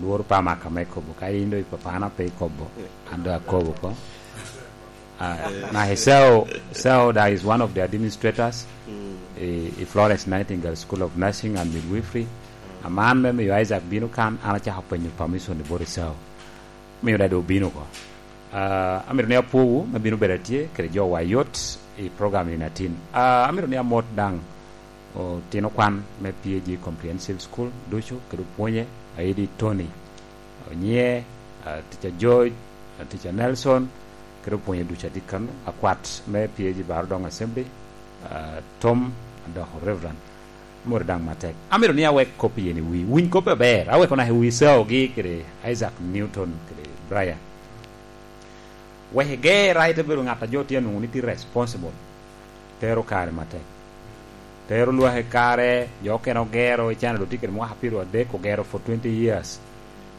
Lworo pe amaka me kobo. Ka in dong i papana pe ikobo, an dong akobo ko. Na Esau, Esau that is one of the administrators i Florence Nightingale School of Nursing and Midwifery. Aman me miyo Isaac bino kan, an acako penyo permission ni bot Esau. Miyo dong obino ko. Amito ni apwowu me bino bedo atye kede jo wa yot i program ni natin. Amito ni amot dang Otino kwan me PAG Comprehensive School ducu kede opwonye aidi Tony Onyier, Tica George, Tica Nelson kede opwonye ducu atye kanu, akwat me PAG Barudong Assembly, Tom adoko Reverend Amwoto dang matek. Amito ni awek kop iye ni wi winy koppe aber aweko naka i wi Esau gi kede Isaac Newton kede Brian wek iger aye te bedo ngat a jo tye nongo ni tye responsible tero kare matek. Tero lwak i kare, jo okene ogero i China dong tye kwede mwaka 30 ogero for 20 years.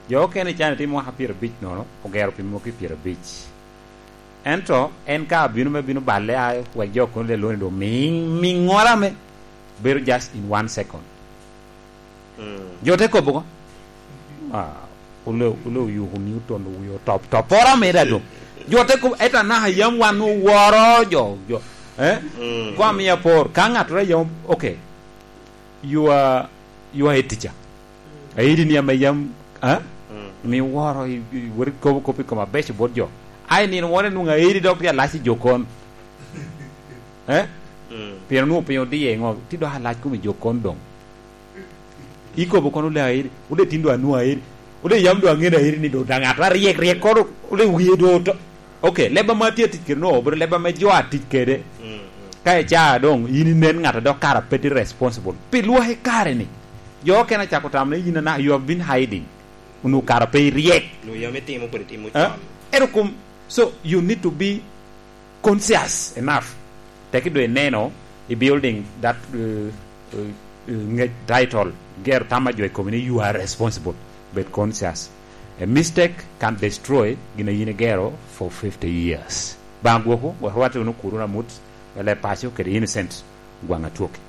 Jo okene i China tye mwaka 50 nono ogero pi mwaki 50. Ento en ka bino me bino balle ayo wek jo kono le loni dong ming ming ngora me bedo just in one second. Jo te kobo ko ah ole ole oyuko Newton wiye otop top pora meda dong. Jo te kobo ento anaka yam wan oworo jo jo eh ko amiya por ka ngat ora yam okay you are you are a teacher aidi ni ame yam eh mi woro i wori kobo kop i kom abeco bot jo ai nino moro inwongo aidi dok tye alac i jokon eh pien onongo piny odiye ngo ti dok alac kom i jokon dong Ikobo kono ole aeri, ole tin do anwo aeri, ole yam do angene aeri ni do da ngat ma ryek ryek kono ole wiye do oto. Ok, leba ma atye atic kede no obedo leba me jo atic kede. Ka ica dong in inen ngat dok kara pe tye responsible pi lwaki kare ni. Jo okene acako tamo ni in ana you have been hiding onongo kara pe iryek. Nyo yam itimo kodi timo Eh? con. Ento kom so you need to be conscious enough teki do ineno i building that uh, Ngec title, Gero tam ma jo i komi ni you are responsible, bed conscious. A mistake can destroy gin a in igero for 50 years. Banga gwoku wek rwate wunu kuru namut me leb paco kede innocent gwang atwoki.